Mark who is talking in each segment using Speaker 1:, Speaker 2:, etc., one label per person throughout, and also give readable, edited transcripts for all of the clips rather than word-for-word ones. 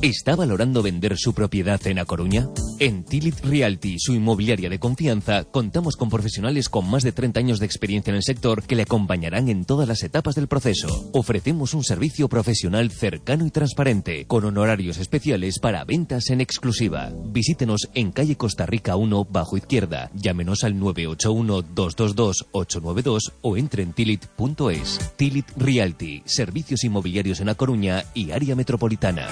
Speaker 1: ¿Está valorando vender su propiedad en A Coruña? En Tilit Realty, su inmobiliaria de confianza, contamos con profesionales con más de 30 años de experiencia en el sector que le acompañarán en todas las etapas del proceso. Ofrecemos un servicio profesional cercano y transparente, con honorarios especiales para ventas en exclusiva. Visítenos en calle Costa Rica 1, bajo izquierda. Llámenos al 981-222-892 o entre en tilit.es. Tilit Realty, servicios inmobiliarios en A Coruña y área metropolitana.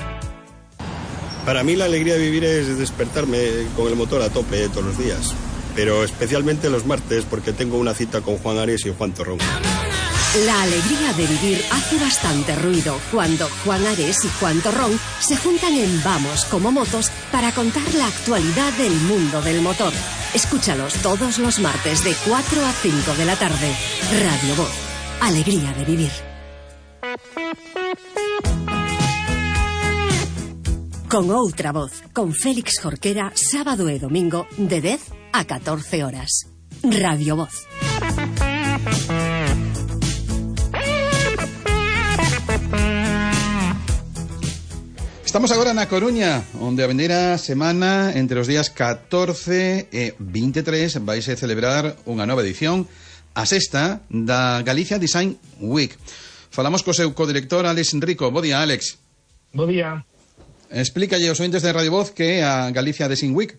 Speaker 2: Para mí la alegría de vivir es despertarme con el motor a tope todos los días, pero especialmente los martes porque tengo una cita con Juan Ares y Juan Torrón.
Speaker 3: La alegría de vivir hace bastante ruido cuando Juan Ares y Juan Torrón se juntan en Vamos como Motos para contar la actualidad del mundo del motor. Escúchalos todos los martes de 4 a 5 de la tarde. Radio Voz. Alegría de vivir. Con outra voz, con Félix Jorquera, sábado e domingo, de 10 a 14 horas. Radio Voz.
Speaker 4: Estamos agora na Coruña, onde a vendeira semana, entre os días 14 e 23, vaise celebrar unha nova edición, a sexta, da Galicia Design Week. Falamos co seu codirector, Alex Rico. Bo día, Alex.
Speaker 5: Bo día.
Speaker 4: Explícalle aos ointes de Radio Voz que é a Galicia Design Week.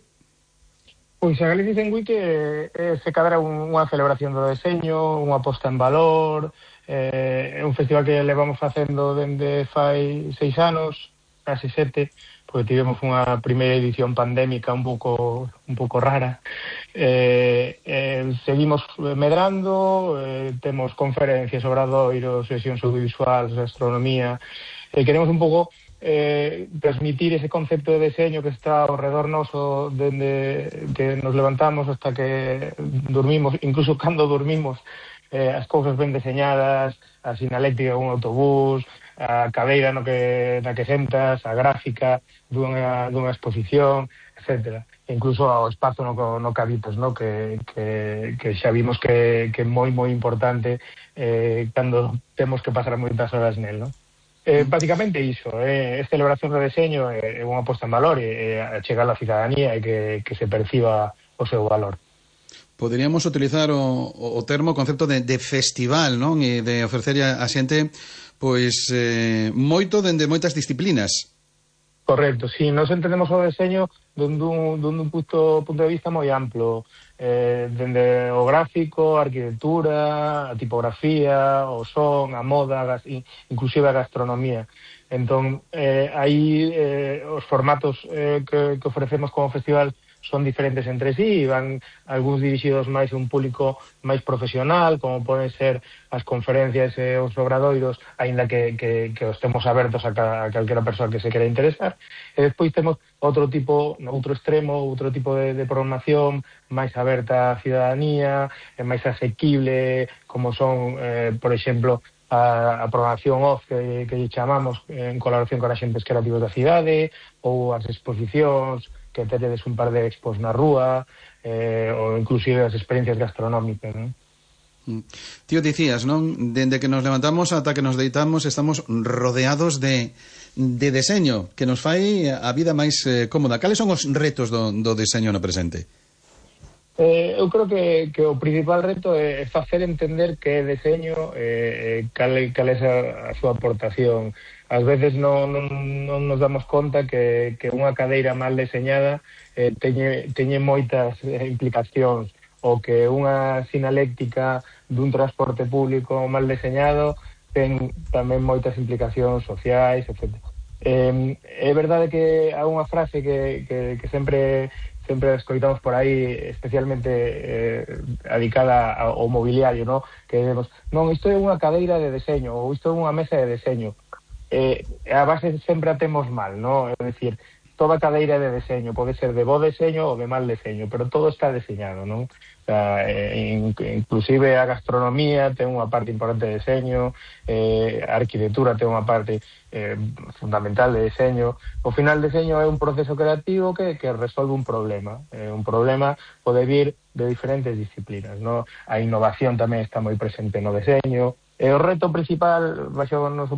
Speaker 5: Pois a Galicia Design Week se cadra unha celebración do deseño, unha posta en valor, é un festival que levamos facendo dende fai 6 anos, casi 7, porque tivemos unha primeira edición pandémica un pouco rara. Seguimos medrando, temos conferencias, obradoiros, sesións audiovisuais, astronomía, queremos un pouco transmitir ese concepto de deseño que está ao redor noso dende que nos levantamos hasta que dormimos, incluso cando dormimos, as cousas ben deseñadas, a sinaléctica dun autobús, a cadeira na que sentas, a gráfica dunha exposición, etcétera. Incluso ao espazo no que habitas, no? que xa vimos que é moi importante cando temos que pasar moitas horas nel, no? Básicamente iso, é celebración do deseño, é unha posta en valor, é chegar á cidadanía e que se perciba o seu valor.
Speaker 4: Poderíamos utilizar o termo, o concepto de festival, non? E de ofrecer a xente pois moito dende moitas disciplinas.
Speaker 5: Correcto, si, nos entendemos o deseño dun punto de vista moi amplo, dende o gráfico, a arquitectura, a tipografía, o son, a moda, inclusive a gastronomía. Entón, aí os formatos que ofrecemos como festival son diferentes entre sí, van algúns dirixidos máis a un público máis profesional, como poden ser as conferencias e os obradoiros, aínda que os temos abertos a calquera persoa que se quera interesar. E despois temos outro extremo, outro tipo de programación máis aberta á cidadanía, máis asequible, como son, por exemplo, a programación off que chamamos en colaboración con axentes creativos da cidade, ou as exposicións que teredes un par de expos na rúa, ou inclusive as experiencias gastronómicas, non?
Speaker 4: Tío, dicías, non? Dende que nos levantamos ata que nos deitamos estamos rodeados de deseño que nos fai a vida máis cómoda. Cales son os retos do deseño no presente?
Speaker 5: Eu creo que o principal reto é facer entender que é deseño, cal é a súa aportación. Ás veces non nos damos conta que unha cadeira mal deseñada teñe moitas implicacións, ou que unha sinaléctica dun transporte público mal deseñado ten tamén moitas implicacións sociais, etc. É verdade que há unha frase que sempre escoitamos por aí, especialmente adicada ao mobiliario, ¿no? Que demos, non, isto é unha cadeira de deseño, ou isto é unha mesa de deseño. A base sempre a temos mal, ¿no? É dicir, toda cadeira de deseño pode ser de bo deseño ou de mal deseño, pero todo está deseñado, non? O sea, inclusive a gastronomía ten unha parte importante de deseño, a arquitectura ten unha parte fundamental de deseño. O final, deseño é un proceso creativo que resolve un problema. Un problema pode vir de diferentes disciplinas, ¿no? A innovación tamén está moi presente no deseño. O reto principal, baixo o noso punto